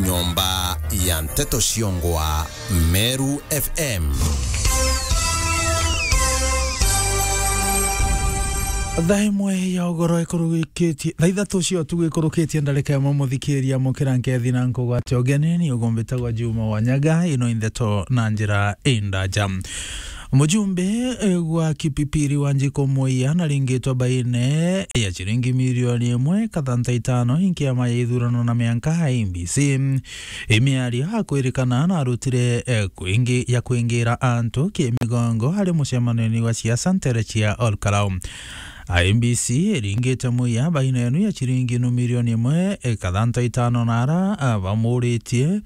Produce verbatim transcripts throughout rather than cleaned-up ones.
Nyomba ya nteto ciongwa Meru F M. Thaa imwe ya ugoro ikurukitie, thaa ithatu cia utuku ikurukitie ndarika imwe, muthikiria mukira nkethi na nkugwate ugeni, ni ugumbitagwa Juma Wanyaga, ino i ndeto na njira indaja. Mujumbe, eh, gwa Kipipiri Wanjiku Muiya naringitwe baine ya ciringi milioni imwe kathanta itano i nkiama ya ithurano na mianka I E B C. I miario akwirikana narutire, eh, kwingi-, ya kwingira antu kimigongo ari mucemanio-ini wa siasa ntere cia Olkalau. I E B C iringite Muiya baine enu ya ciringi nu milioni imwe, eh, kathanta itano na ara, ah, bamuritie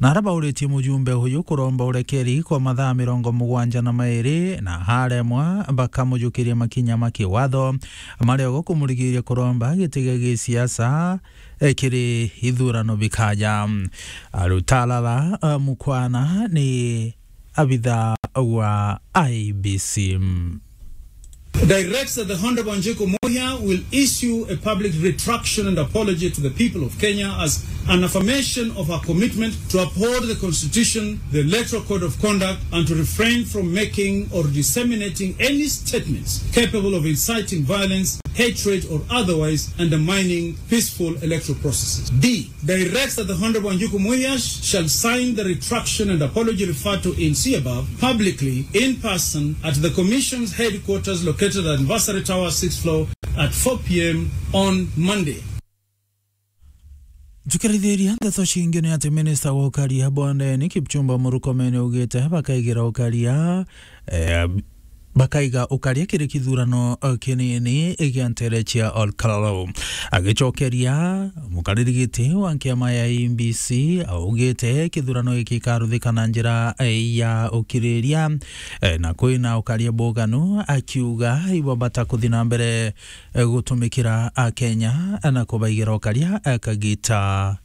Na ara bauritie mujumbe uyu kuromba urekeri kwa mathaa mirongo mugwanja na mairi, na haremwa bakamujukiria makinya ma kiwatho, maria ugo kumurigiria kuromba giti gia gisiasa, eh, kiri ithurano bikaja. Arutalala, eh, Mukwana ni abitha wa I E B C. Directs that the Honorable Wanjiku Muhia will issue a public retraction and apology to the people of Kenya as an affirmation of her commitment to uphold the Constitution, the Electoral Code of Conduct, and to refrain from making or disseminating any statements capable of inciting violence, hatred, or otherwise undermining peaceful electoral processes. D, directs that the Honorable Wanjiku Muhia sh-, shall sign the retraction and apology referred to in C above publicly in person at the Commission's headquarters located at Anniversary Tower, sixth floor, at four p m on Monday. Tukirithiria ndeto cingi ni ati minista wa ukaria bondeni Kipchumba Murkomen augite bakaigira ukaria, eh, bakaiga ukaria kiri kithurano, eh, kinini gia ntere cia Olkalau. Agicokeria mukariri giti wa nkiama ya I E B C, augite kithurano giki gikaruthika na njira, eh, ya ukiriria, eh, na kwina ukaria buganu, akiuga ibo bata kuthi na mbere, eh, gutumikira Akenya na kubaigira ukaria, eh, kagita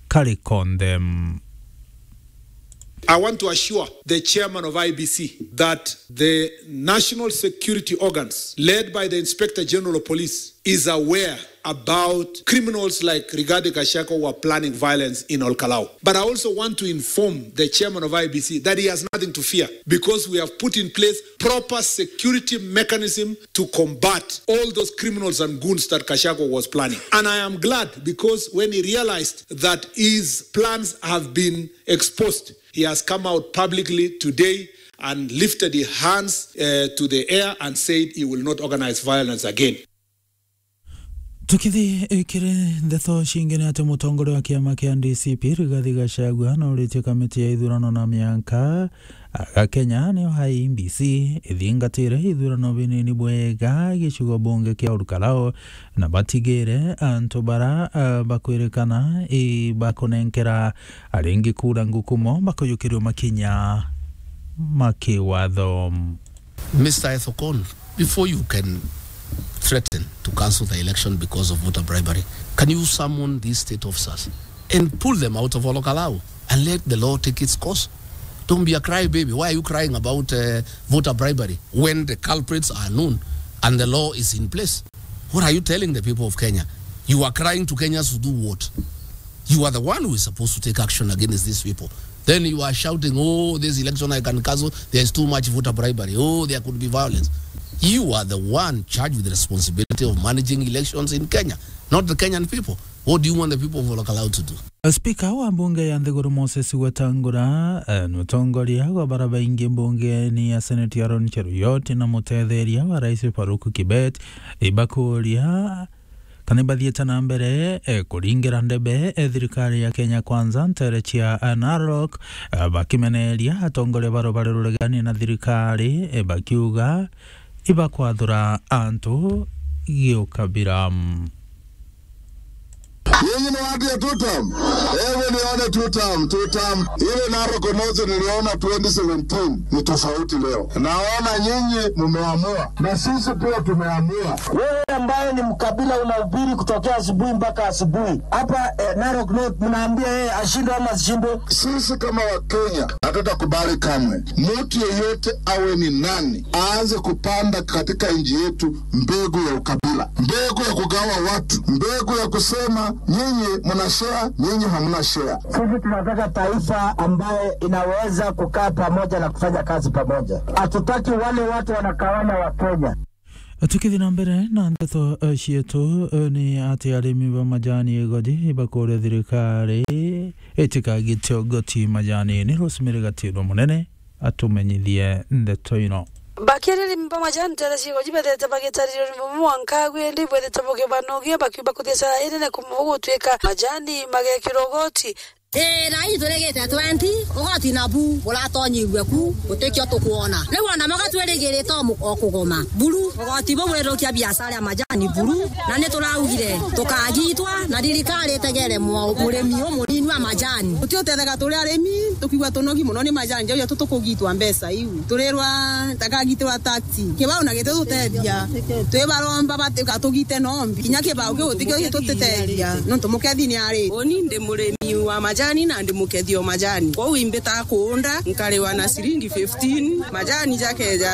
kari konthe. I want to assure the chairman of I E B C that the national security organs, led by the Inspector General of Police, is aware about criminals like Rigathi Gachagua who are planning violence in Olkalau. But I also want to inform the chairman of I E B C that he has nothing to fear because we have put in place proper security mechanism to combat all those criminals and goons that Gachagua was planning. And I am glad because when he realized that his plans have been exposed, he has come out publicly today and lifted his hands, eh, to the air and said he will not organize violence again. Tukithi, eh, kiri ndeto cingi ni ati mutongoria wa kiama kia D C P Rigathi Gachagua noritie kamiti ya ithurano na mianka, aga Kenya niyo I E B C ithingatire ithurano binini bwega gicigo bunge kia Olkalau, na batigire antu bara, eh, bakwirikana i bakunenkera aringi kura ngukumo bakujukirio makinya ma kiwatho. Mister Ethekon, before you can threaten to cancel the election because of voter bribery, can you summon these state officers and pull them out of Olkalau and let the law take its course? Don't be a crybaby. Why are you crying about, uh, voter bribery when the culprits are known and the law is in place? What are you telling the people of Kenya? You are crying to Kenyans to do what? You are the one who is supposed to take action against these people. Then you are shouting, "Oh, this election I can cancel. There's too much voter bribery. Oh, there could be violence." You are the one charged with the responsibility of managing elections in Kenya, not the Kenyan people. What do you want the people of Olkalau to do? Spika wa mbunge ya nthiguru Moses Wetangula, eh, ni utongoria wa bara baingi mbungeni ya Senate Aaron Cheruiyot na mutetheria wa rais Farouk Kibet ibakuria kana ibathiite na mbere, eh, kuringira ndebe, eh, thirikari ya Kenya Kwanza ntere cia, eh, Narok, eh, bakimeneria atongoria ba rubare ruregani na thirikari, eh, bakiuga ibakwathura antu giukabira. Nyinyi ni watu ya two term. Hebu nione two term, two term. Ile Narok North niliona twenty seventeen ni tofauti leo. Naona nyinyi mumeamua. Na sisi pia tumeamua. Wewe ambaye ni mkabila unahubiri kutokea asubuhi mpaka asubuhi. Hapa, eh, Narok North mnaambia yeye ashindwe ama asishindwe? Sisi kama Wakenya, Tutakubali kamwe mtu yeyote, awe ni nani, aanze kupanda katika nchi yetu mbegu ya ukabila, mbegu ya kugawa watu, mbegu ya kusema nyinyi mna share, nyinyi hamna share. Sisi tunataka taifa ambaye inaweza kukaa pamoja na kufanya kazi pamoja. Hatutaki wale watu wanagawanya wa Kenya. Tukithi na mbere na ndeto, eh, cietu, eh, ni ati arimi ba majani igoji bakuria thirikari itikagite ugoti majani. Ni Rosemary Gatindo Munene atumenyithie ndeto ino. Bakiaria arimi ba majani ntere cia igoji bethete bagitaririo ni mumu mwanka agwi, indi bwethete bukibanogia bakiumba kuthia cara inene kumwe gutwika majani magekirwa ugoti. Ii, na iji turigite twenty, ugoti nabu buratonyirue ku, gutikio tukwona. Riu ona mwaga twirigirite o mu-, o kugoma. Buru, ugoti buu bwirukia biashara ya majani buru, na ni turaugire tukagitwa, na thirikari itegere mwa-, murimi umunini wa majani. Guti utethega turi arimi, tukiigua tunogi mono ni majani, jau jatu tukugitwa mbeca iu. Turirwa takagitirwa tax. Kibau na gititutethia. Twibaromba bati-, gatugite nombi. Kinya kibau kiu gutikio gitutethia. Nontu mukethi ni ari. Uni ndi murimi wa majani na ndi mukethi o majani. Kwou imbitaga kuunda, nkariwa na ciringi fifteen, majani jakeja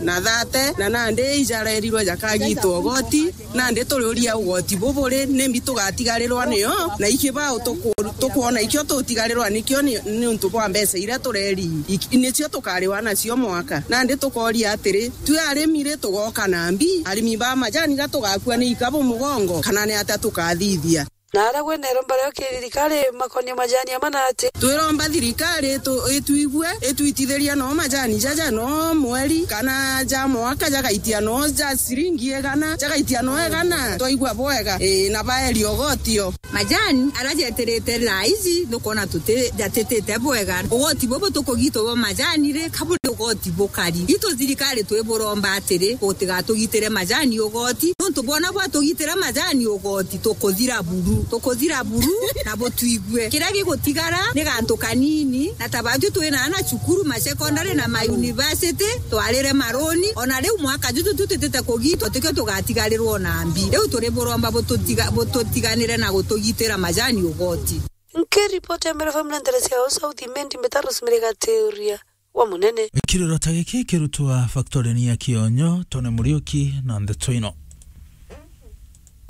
na thirty, na nandi ijarerirwe jakagitwa ugoti. Nandi turiuria ugoti buburi, nimbi tugatigarirwa nio, na ikibau tuku-, tukwona ikio tutigarirwa nikio ni, niuntu bwa mbeca iria tureri, ik-, nicio tukariwa nacio mwaka. Nandi tukoria atiri, twi arimi ri tugoka na mbi? Arimi ba majani ga tugakua ni ikabu mugongo, kana ni atia tukathithia? Na ara gwe neromba rio ki thirikari makonie majani ama na ati? Twiromba thirikari itu-, ituigue, itwitithiria no majani jaja no mweri, kana ja mwaka jagaitia no ja ciringi igana, jagaitia no igana, twaigua bwega, ii, na baeria ugoti o. Majani ara jetirite thaa iji, nukwona tuti-, jatitite bwega. Ugoti bubu tukugitwa bwa majani ri, ka buri ugoti bukari? Itu thirikari twiburomba atiri, gutigatugitire majani ugoti, nontu bwona bwatugitira majani ugoti, tukuthira buru, tukuthira buru, na butwigue. Kiria gigutigara ni gantu kanini, na ta batwi twina ana cukuru, ma secondary na ma university, twarire maroni, ona riu mwaka juju tutitite kugitwa, tikio tugatigarirwa na mbi. Riu turi buromba bututiga-, bututiganire na gutugitira majani ugoti. Nkiripoti ya Meru F M na ntere cia South Imenti, mbita Rosemary Gatiuria wa Munene. Kiriro ta giki kirutwa factory-ini ya Kionyo, Tony Muriuki na ndeto ino.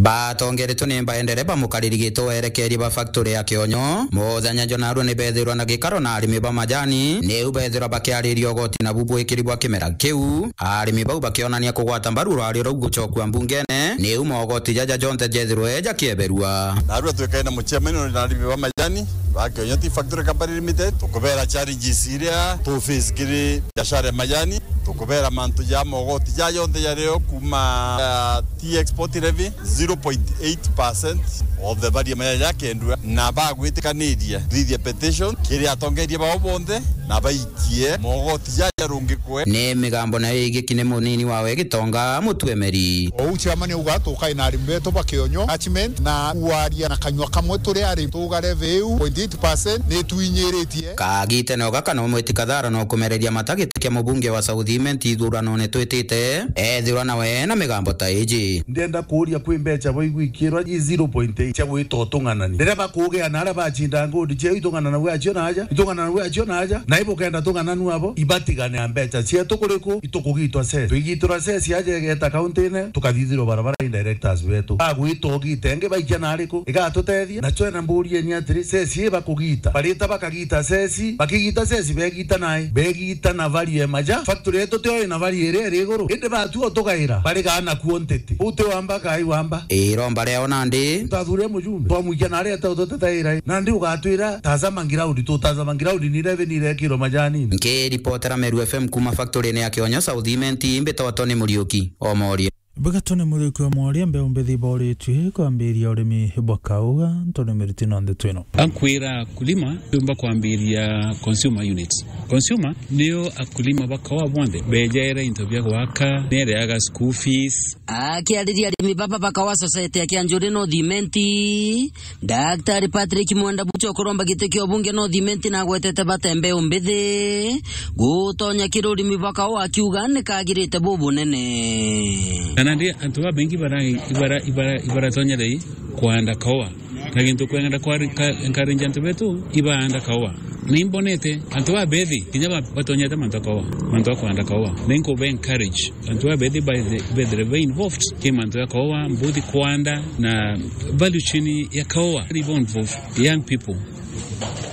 Batongeretwe ni baendere ba mukariri gitwe werekerie ba factory ya Kionyo, muthenya jwa narua ni bethirwa na gikaro na arimi ba majani, niu bethirwa bakiariria ugoti nabu bwikiri bwa kimera kiu. Arimi bau bakionania kugwata mbaru rwario rau gucokua mbungene, niu mogoti jaja jonthe jethirwe jakieberua. Narua twikaine muciamani na arimi ba majani ba Kionyo Tea Factory Company Limited, tukubera challenges iria tu face kiri biashara ya majani, tukubera mantu ja mogoti ja jonthe jario kuma, uh, tea export levy, zero point eight percent of the value ya majani jakendua, na bagwitikanirie thithia petition kiri atongeria bao bonthe, na baikie mogoti jaja rungikwe. Ni migambo nayo igiki ni munini wawe Gitonga Mutuemeri. Ou chairman auga tukai na arimi betu ba Kionyo catchment na kuaria na kanyua kamwe turi arimi tuga levy iu point eight percent ni twinyiritie. Kagitene o gaka no mwiti kathara no kumereria mata giti kia mubunge wa South Imenti ithuranone twitite, ethirwa nawe na migambo ta iji. Ndenda kuuria kwi mbeca baigwikirwa i zero point eight cia gwita utung'anani. Riria bakugia na aria bacinda ngondi ciao itung'ananagua acio na aja, itung'ananagua acio na aja, na ibukenda tung'ananu abo, ibatigane na mbeca cietu kuriku, itukugitwa cess. Twigitirwa cess aja igeta kaunti-ine, tukathithirwa barabara i directors betu. Bagwita ugite ingi baikia na ariku, igatutethia? Na twena mburia ni atiri, cess i bakugita, barita bakagita cess, bakigita cess, begita nai, begita na value e maja. Factory yetu tio ina value iria iri iguru, indi batua utugaira, barigaa nakuo ntiti. Uu ti wamba kai wamba? Iromba riao nandi. Tathure mujumbe, twamwikia na aria tau tutetaira i. Nandi ugatwira, tazama ground, tutazama ground ni revenue irekirwa majani. Nkiripotera Meru F M kuma factory-ini ya Kionyo South Imenti, mbitwa Tony Muriuki, Omoria. Mbega Tony Muriuki, Omoria, mbeu mbithi iboritue kwambiria urimi bwa kauga, Tony Muriuki na ndeto ino. Ankwira akulima, tumba kwambiria consumer unit. Consumer nio akulima ba kawa bonthe, bejaira into bia gwaka, nereaga school fees. Akiariria arimi baba ba kawa society ya Kianjuri North Imenti, Daktari Patrick Mwenda Bucho kuromba giti kia ubunge North Imenti na agwetete bata mbeu mbithi gutonya kiri urimi bwa kawa, akiuga ni kagirite bubunene. Na nandi antu babaingi ibara-, ibara-, ibara-, ibaratonya thei kwanda kawa. Na gintu kwenda kwa ka-, encourage antu betu ibaanda kawa. Na imbonete antu babethi kinya ba-, batonyete mantu ja kaua, mantu ja kwanda kaua. Na inkuba encourage antu babethi baithe-, bethire be involved ki mantu ja kaua, mbuthi kwanda na value chain ya kaua. Very involve young people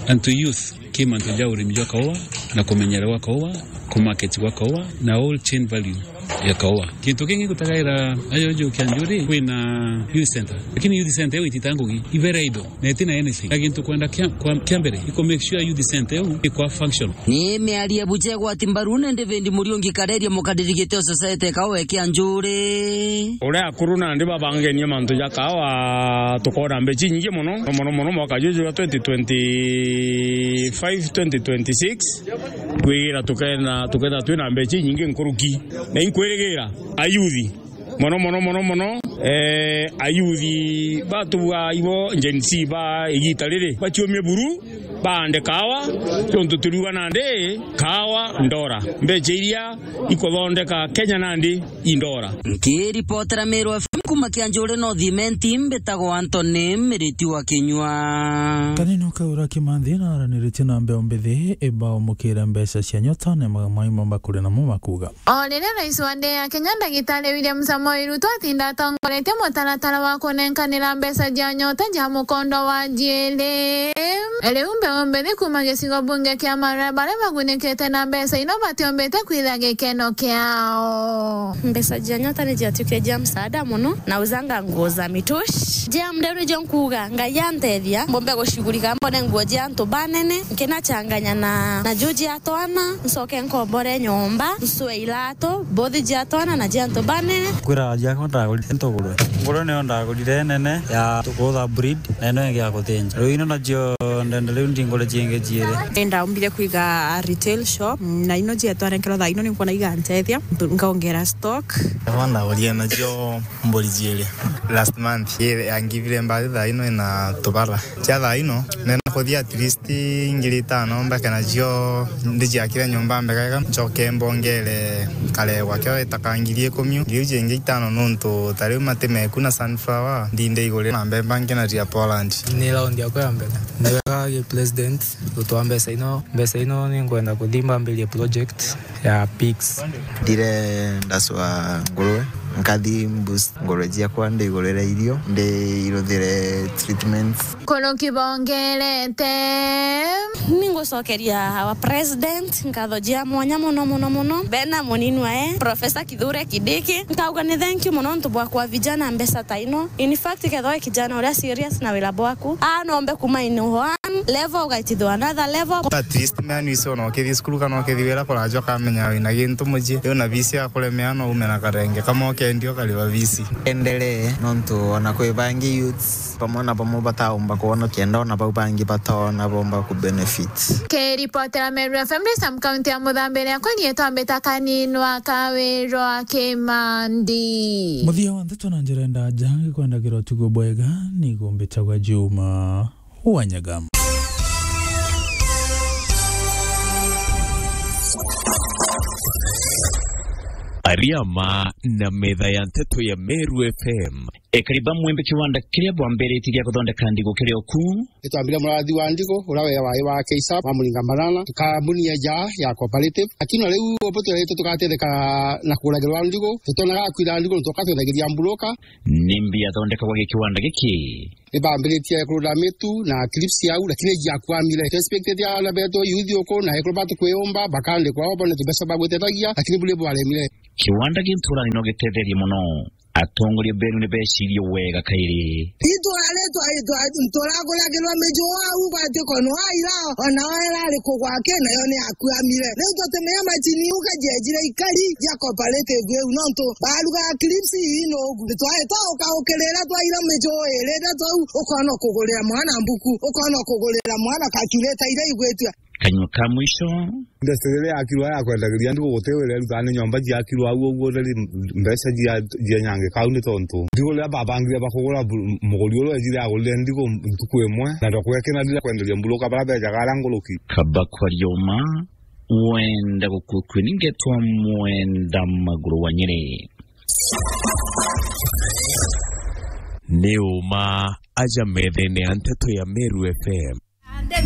and to youth ki mantu ja urimi jwa kaua na kumenyera gwa kaua, kumarket gwa kaua na whole chain value ya kaua. Kintu kingi ngutagaira ajojo kia njuri, kwina youth center. Lakini youth center iu itita ngugi, i very idle, na itina anything. Na kintu kwenda kia, kwa, kia mbere, i ku make sure youth center iu ikwa function. Ni miario buche gwati mbaru ni David Muriungi Kareria, mukariri giti o society kaua kia njuri. Uria akuru nandi babangenie mantu ja kaua, tukona mbechi nyingi muno, muno, muno mwaka juju jwa twenty twenty-five, twenty twenty-six. Kwigira tukena, tuketha twina mbecha inyingi nkuruki. Na inkwirigira ayuthi, mono, mono, mono, mono, eh, ayuthi batuga ibo Gen Z ba igita riri, baciumie buru, baande kawa, tontu turiuga nandi kawa ndora. Mbecha iria ikuthondeka Kenya nandi indora. Nkiripotera Meru F M kuma Kianjuri North Imenti, mbitagwa Anthony Miriti wa Kinyua. Kanini ukaura Kimanthi na araniritie na mbeo mbithi, ibaumukire mbeca cia nyota na ma-, maimo bakuri namo makuga. O riria rais wa nthi ya Kenya, Ndagitari William Samoei Ruto, atinda atongoretie mutaratara wa kunenkanira mbeca cia nyota cia mukondo wa jiiri, riu mbeo mbithi kuma gicigo bunge kia Maria, baria bagunikite na mbeca ino, batiombite kwitha gikeno kiao. Mbeca cia nyota ni ciatuike cia msaada muno, na uzanga nguo za mitush. Jia mdeu nijo nkuga, Ngai antethia, mbombe gucigurika, mbone nguo cia antu banene, nkinachanganya na, na juu cia twana, ncoke nkombore nyomba, ncue iratu, mbothi cia twana na cia antu banene. Kwira jiakwa ndagurire ntugurwe. Ngurwe niyo ndagurire nene ya kutha breed, na ino ingi ya kuthinja. Riu ino nacio ndenda riu ndingure ciingi ciiri. Ni ndaumbire kwiga a retail shop, na ino cietwa nenkerwa thaa ino ninkwona igantethia, nkaongera stock. Aba ndagurie nacio mburi ciiri last month. Ii yangivire mbathi thaa ino ina tubara. Cia thaa ino, nenda kuthia at least ngiri itano mbeke nacio, ndiciakire nyomba mbega ega, ncoke mbongere karegwa kio itaka ngiri ikumi, ngiri iu ciingi itano, nontu ta riu mati meku na sunflower, ndinde igurira na mbemba nkenaria Poland. Ni round yakwa ya mbere. Ni wega gi president gutwaa mbeca ino. Mbeca ino ni ngwenda kuthi mbambirie project ya pigs. Ndire ndacua ngurwe, nkathi boost ngurwe ciakwa, ndi igurire irio, ndi iruthire treatments. Kuruki bongerete. Ningucokeria our president nkatho cia mwanya muno, muno, muno. Bena munini wae, Professor Kithure Kindiki. Nkauga ni thank you muno nontu bwa kwa vijana mbeca ta ino. In fact, kethwa wi kijana uria serious na wira bwaku, a nombe kuma in one level ugaitithwa another level. At least mea nisi ona ukithii cukuru kana ukithii wira kuraja ukamenya wina gintu mucii. Riu na visi ya kuremea no ume na karenge kamwe ukendia ukariva visi. Endelee, nontu ona kwi bangi youths bamwe na bamwe bataumba kwona, kenda ona bau bangi batona bomba ku benefit. Kiripotera Meru F M, Sam County ya Muthambi, riakwa rietwa Mbita Kaninwa Kawirwa Kimandi. Muthia wa ndeto na njira ndaja, ngikwendagirwa utugo bwega, nigo mbitagwa Juma Wanyaga. Ariama na metha ya nteto ya Meru F M. Ekari ba Mwembe kiwanda kiria bwambiritie gia kuthondeka ndigu kiri o kuu. Nitwambire murathi wa ndigu, uria we wari wa K S A P, wa Muringa Banana, kambuni ya ja ya cooperative. Lakini na riu ubu twirite tugatetheka na kuguragirwa ndigu, tutonaga kwira ndigu, nontu tukatwendagiria mburuka. Nimbi yathondekagwa gi kiwanda giki? Nibambiritie kurura mitu na clips yau, lakini ijiakwamire. Twexpectete ana betu youth uku na ekuru batu kwiyumba, bakandikwa o bone tubeca ba gwiteithagia, lakini buri bwaremire. Kiwanda gi nturani no gitetherie mono. Atongoria benu ni becirie wega kairi. Itwari twa-, twa-, turaguragirwa miju au gwati kono aira, ona o irari kugwa ki, nayo ni yakwamire. Riu tutimenya macini iu kajiejire ikari ja cooperative iu, nontu barugaga clips ii nugu. Twari twaukaukirira twaira miju iri, riria twau ukona kugurira mwana mbuku, ukona kugurira mwana calculator iria igwitua. Kanyua ka mwisho. Industry iria yakirwa ya kwendagiria ndigu guti wira irutaga ni nyomba ciakirwa au uguo, riri mbeca cia, cia nyangi kau ni tontu ndigu riria babangire bakugura bu-, muguri uria wejire agurire ndigu ntuku imwe, na ndokugekena rira kwenderia mburuka baria bejaga aria nguruki. Kaba kwa rioma, wenda gukukwi ni ngetwa Mwenda Maguru wa Nyeri. Ni uma aja methene ya nteto ya Meru F M.